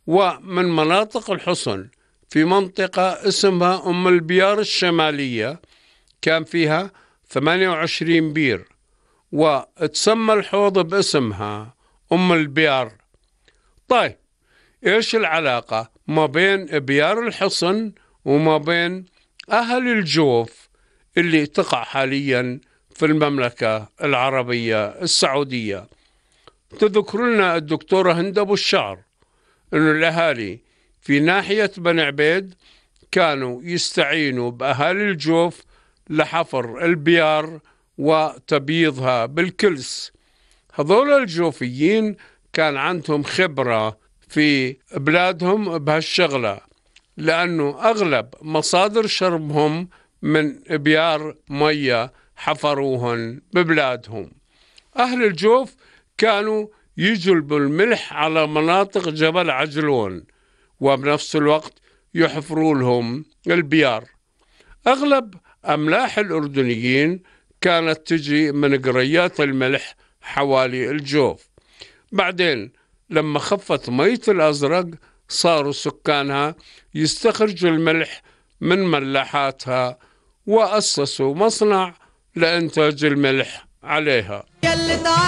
ومن مناطق الحصن في منطقة اسمها أم البيار الشمالية كان فيها 28 بير، وتسمى الحوض باسمها أم البيار. طيب إيش العلاقة ما بين بيار الحصن وما بين أهل الجوف اللي تقع حاليا في المملكة العربية السعودية؟ تذكر لنا الدكتورة هند أبو الشعر إنه الأهالي في ناحية بني عبيد كانوا يستعينوا بأهالي الجوف لحفر البيار وتبييضها بالكلس. هذول الجوفيين كان عندهم خبرة في بلادهم بهالشغلة، لأنه أغلب مصادر شربهم من بيار مية حفروهن ببلادهم. أهل الجوف كانوا يجلبوا الملح على مناطق جبل عجلون، وبنفس الوقت يحفروا لهم البيار. أغلب أملاح الأردنيين كانت تجي من قريات الملح حوالي الجوف. بعدين لما خفت مية الأزرق صاروا سكانها يستخرجوا الملح من ملاحاتها، وأسسوا مصنع لإنتاج الملح عليها.